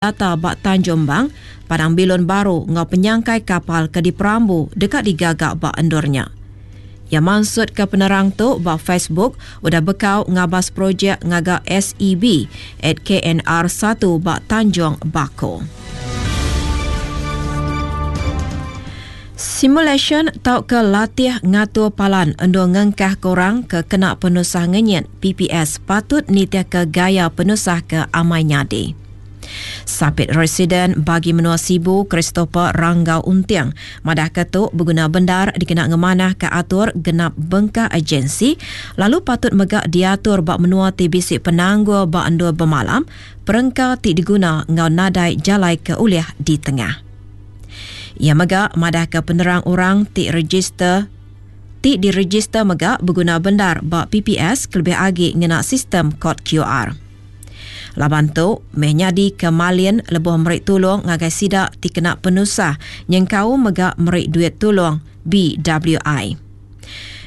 Data ba Tanjung Bang, padang bilun baru enggau penyangkai kapal ke diperambu deka digaga ba endur nya. Iya mansutka penerang tu ba Facebook udah bekau ngabas projek ngaga SEB at KNR satu ba Tanjung Bako. Simulasyen tauka latih ngatur palan endur ngengkahka orang ke kena penusah ngenyit, PPS, patut nitihka gaya penusah ke amai nyadi. Sapit Residen Bagi Menua Sibu Christopher Ranggau Unting madahka tu beguna bendar dikena ngemanahka atur genap bengkah agensi lalu patut mega diatur ba menua ti bisi penanggul ba endur bemalam, perengka ti diguna enggau nadai jalai ke ulih ditengah. Iya mega madahka penerang orang ti rejister ti direjister mega beguna bendar ba PPS kelebih agi ngena sistem kod QR. Laban tu meh nyadi ke malin lebuh meri tulung ngagai sida ti kena penusah nyengkaum mega meri duit tulung BWI.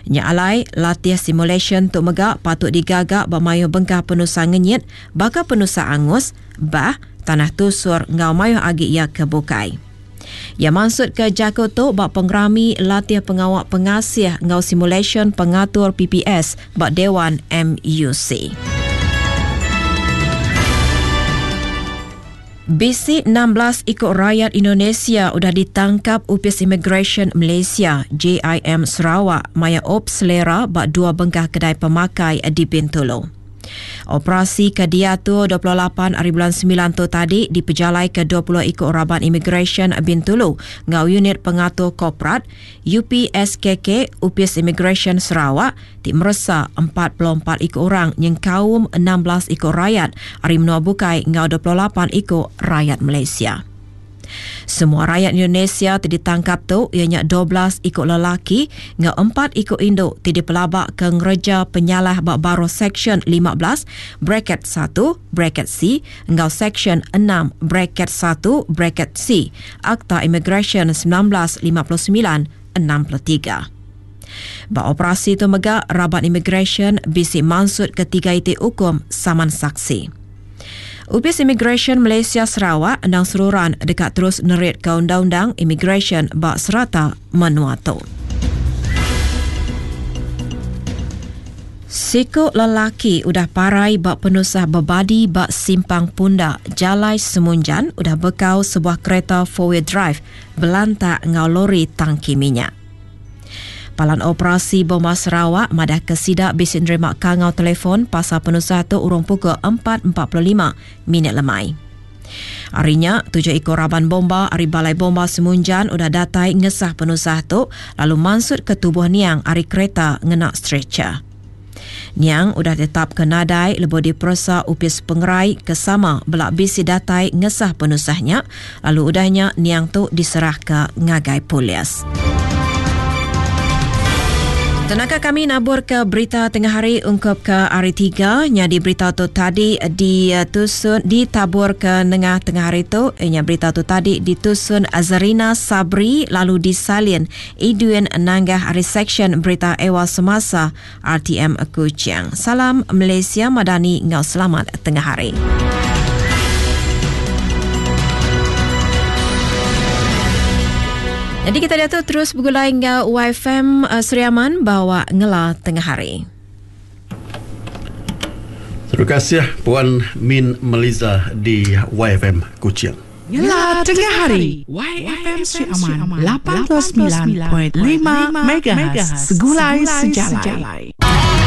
Nya alai, latih simulasyen tu mega patut digaga ba mayuh bengkah penusah ngenyit baka penusah angus, bah, tanah tusur enggau mayuh agi iya ke bukai. Iya mansutka jaku tu ba pengerami latih pengawa pengasih enggau simulasyen pengatur PPS ba Dewan MUC. Bisi 16 iku rayat Indonesia udah ditangkap Opis Imigresen Malaysia, JIM Sarawak, maya Op Selera ba dua bengkah kedai pemakai di Bintulu. Operasi ke diatur 28 ari bulan semilan tu tadi dipejalaika 20 iku raban Imigresen Bintulu enggau Unit Pengatur Korporat, UPSKK, Opis Imigresen Sarawak ti meresa 44 iku orang nyengkaum 16 iku rayat ari menua bukai enggau 28 iku rayat Malaysia. Semua rayat Indonesia ti ditangkap tu iya nya 12 iku lelaki enggau empat iku indu ti dipelabaka ngereja penyalah ba baruh Seksyen 15 braket satu braket C enggau Seksyen enam braket satu braket C Akta Imigresen 1959, 63. Ba operasi tu mega raban imigresen bisi mansutka tiga iti ukum saman saksi. Opis Imigresen Malaysia Sarawak endang seruran deka terus neritka undang-undang imigresen ba serata menua tu. Siku lelaki udah parai ba penusah bebadi ba Simpang Punda, Jalai Semunjan udah bekau sebuah kereta four-wheel drive belantak enggau lori tangki minyak. Palan Operasi Bomba Sarawak madahka sida bisi nerima kangau telefon pasal penusah tu urung pukul 4.45 minit lemai. Ari nya, tujuh iku raban bomba ari Balai Bomba Semunjan udah datai ngesah penusah tu lalu mansutka tubuh niang ari kereta ngena stretcher. Niang udah ditetapka nadai lebuh diperesa Opis Pengerai ke sama bela bisi datai ngesah penusah nya lalu udah nya niang tu diserahka ngagai polis. Tenaka kami naburka berita tengah hari ungkup ke hari tiga nyadi berita tu tadi ditusun ditaburka nengah tengah hari tu nya berita tu tadi ditusun Azarina Sabri lalu disalin Edwin Nanggah ari Seksyen Berita Ewa Semasa RTM Kuching. Salam Malaysia Madani enggau selamat tengah hari. Jadi kita diatu terus begulai enggau YFM uh, Sri Aman bawa ngela tengah hari. Terima kasih Puan Min Meliza di YFM Kuching. Ngela tengah hari. YFM Sri Aman 89.5 MHz Segulai Sejalai.